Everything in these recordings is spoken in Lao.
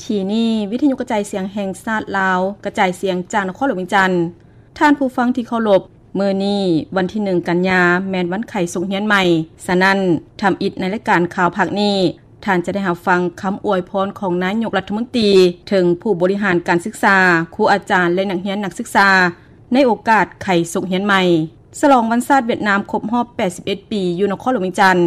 ທີ່ນີ້ ວິທຍຸກະຈາຍສຽງແຫ່ງຊາດລາວ ກະຈາຍສຽງຈາກນະຄອນຫຼວງວຽງຈັນ. ທ່ານຜູ້ຟັງທີ່ເຄົາລົບ, ມື້ນີ້ວັນທີໜຶ່ງກັນຍາ ແມ່ນວັນໄຂສົກຮຽນໃໝ່. ສະນັ້ນ, ທຳອິດໃນລາຍການຂ່າວພາກນີ້, ທ່ານຈະໄດ້ຮັບຟັງຄຳອວຍພອນຂອງນາຍົກລັດຖະມົນຕີ ເຖິງຜູ້ບໍລິຫານການສຶກສາ, ຄູອາຈານ ແລະ ນັກຮຽນນັກສຶກສາ ໃນໂອກາດໄຂສົກຮຽນໃໝ່ ສະຫຼອງວັນຊາດຫວຽດນາມຄົບຮອບແປດສິບເອັດປີ ຢູ່ນະຄອນຫຼວງວຽງຈັນ.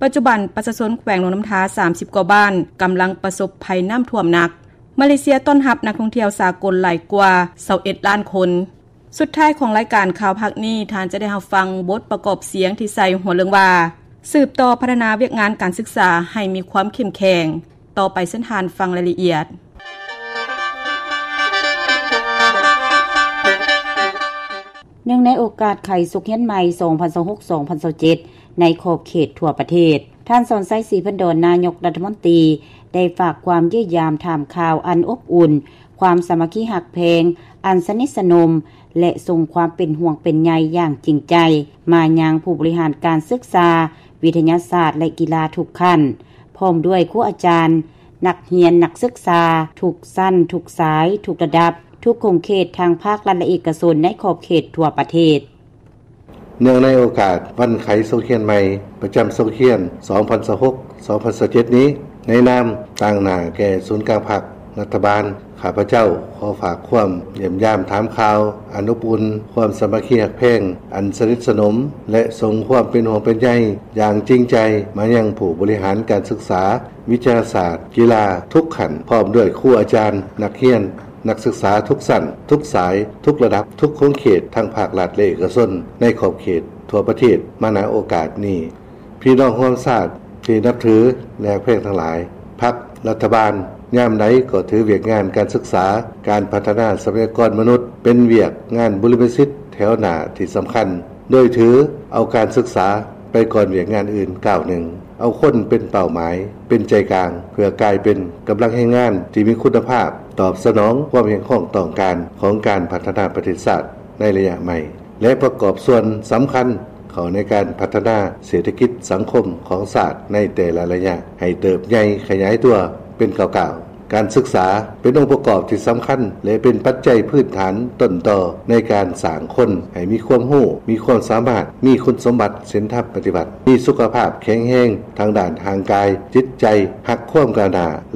ປັດຈຸບັນປະຊາຊົນແຂວງຫຼວງນ້ຳທາສາມສິບກວ່າບ້ານ ກຳລັງປະສົບໄພນ້ຳຖ້ວມໜັກ. ມາເລເຊຍຕ້ອນຮັບນັກທ່ອງທ່ຽວສາກົນຫຼາຍກວ່າຊາວເອັດລ້ານຄົນ. ສຸດທ້າຍຂອງລາຍການຂ່າວພາກນີ້, ທ່ານຈະໄດ້ຮັບຟັງບົດປະກອບສຽງທີ່ໃສ່ຫົວເລື່ອງວ່າ ສືບຕໍ່ພັດທະນາວຽກງານການສຶກສາໃຫ້ມີຄວາມເຂັ້ມແຂງ. ຕໍ່ໄປເຊີນທ່ານຟັງລາຍລະອຽດ. ເນື່ອງໃນໂອກາດໄຂສົກຮຽນໃໝ່ ສອງພັນຊາວຫົກ ສອງພັນຊາວເຈັດ ໃນຂອບເຂດທົ່ວປະເທດ, ທ່ານ ສອນໄຊ ສີພັນດອນ ນາຍົກລັດຖະມົນຕີ ໄດ້ຝາກຄວາມຢ້ຽມຢາມຖາມຂ່າວອັນອົບອຸ່ນ, ຄວາມສາມັກຄີຮັກແພງອັນສະໜິດສະໜົມ ແລະ ສົ່ງຄວາມເປັນຫ່ວງເປັນໃຍຢ່າງຈິງໃຈ ມາຍັງຜູ້ບໍລິຫານການສຶກສາ, ວິທະຍາສາດ ແລະ ກິລາທຸກຂັ້ນ, ພ້ອມດ້ວຍຄູອາຈານ, ນັກຮຽນນັກສຶກສາ ທຸກຊັ້ນ, ທຸກສາຍ, ທຸກລະດັບ, ທຸກຂົງເຂດ ທັງພາກລັດ ແລະ ເອກະຊົນ ໃນຂອບເຂດທົ່ວປະເທດ. ເນື່ອງໃນໂອກາດວັນໄຂສົກຮຽນໃໝ່ ປະຈຳສົກຮຽນ ສອງພັນຊາວຫົກ ສອງພັນຊາວເຈັດ ນີ້, ໃນນາມຕາງໜ້າແກ່ສູນກາງພັກ, ລັດຖະບານ, ຂ້າພະເຈົ້າຂໍຝາກຄວາມຢ້ຽມຢາມຖາມຂ່າວອັນອົບອຸ່ນ, ຄວາມສາມັກຄີຮັກແພງອັນສະໜິດສະໜົມ ແລະ ສົ່ງຄວາມເປັນຫ່ວງເປັນໃຍຢ່າງຈິງໃຈ ມາຍັງຜູ້ບໍລິຫານການສຶກສາ, ວິທະຍາສາດ, ກິລາທຸກຂັ້ນ, ພ້ອມດ້ວຍຄູອາຈານ, ນັກຮຽນ, ນັກສຶກສາທຸກຊັ້ນ, ທຸກສາຍ, ທຸກລະດັບ, ທຸກຂົງເຂດ ທັງພາກລັດ ແລະ ເອກະຊົນ ໃນຂອບເຂດທົ່ວປະເທດ ມາ ນະ ໂອກາດນີ້. ພີ່ນ້ອງຮ່ວມຊາດທີ່ນັບຖື ແລະ ຮັກແພງທັງຫຼາຍ, ພັກ, ລັດຖະບານ ຍາມໃດກໍຖືວຽກງານການສຶກສາ, ການພັດທະນາຊັບພະຍາກອນມະນຸດ ເປັນວຽກງານບຸລິມະສິດແຖວໜ້າທີ່ສຳຄັນ, ໂດຍຖືເອົາການສຶກສາໄປກ່ອນວຽກງານອື່ນກ້າວໜຶ່ງ, ເອົາຄົນເປັນເປົ້າໝາຍ, ເປັນໃຈກາງ ເພື່ອກາຍເປັນກຳລັງແຮງງານທີ່ມີຄຸນນະພາບ, ຕອບສະໜອງຄວາມຮຽກຮ້ອງຕ້ອງການຂອງການພັດທະນາປະເທດຊາດໃນໄລຍະໃໝ່ ແລະ ປະກອບສ່ວນສຳຄັນເຂົ້າໃນການພັດທະນາເສດຖະກິດສັງຄົມຂອງຊາດໃນແຕ່ລະໄລຍະ ໃຫ້ເຕີບໃຫຍ່ຂະຫຍາຍຕົວເປັນກ້າວໆ. ການສຶກສາເປັນອົງປະກອບທີ່ສຳຄັນ ແລະ ເປັນປັດໄຈພື້ນຖານຕົ້ນຕໍໃນການສ້າງຄົນໃຫ້ມີຄວາມຮູ້, ມີຄວາມສາມາດ, ມີຄຸນສົມບັດ, ສິນທຳປະຕິວັດ, ມີສຸຂະພາບແຂງແຮງທາງດ້ານຮ່າງກາຍ, ຈິດໃຈ, ຮັກຄວາມກ້າວໜ້າ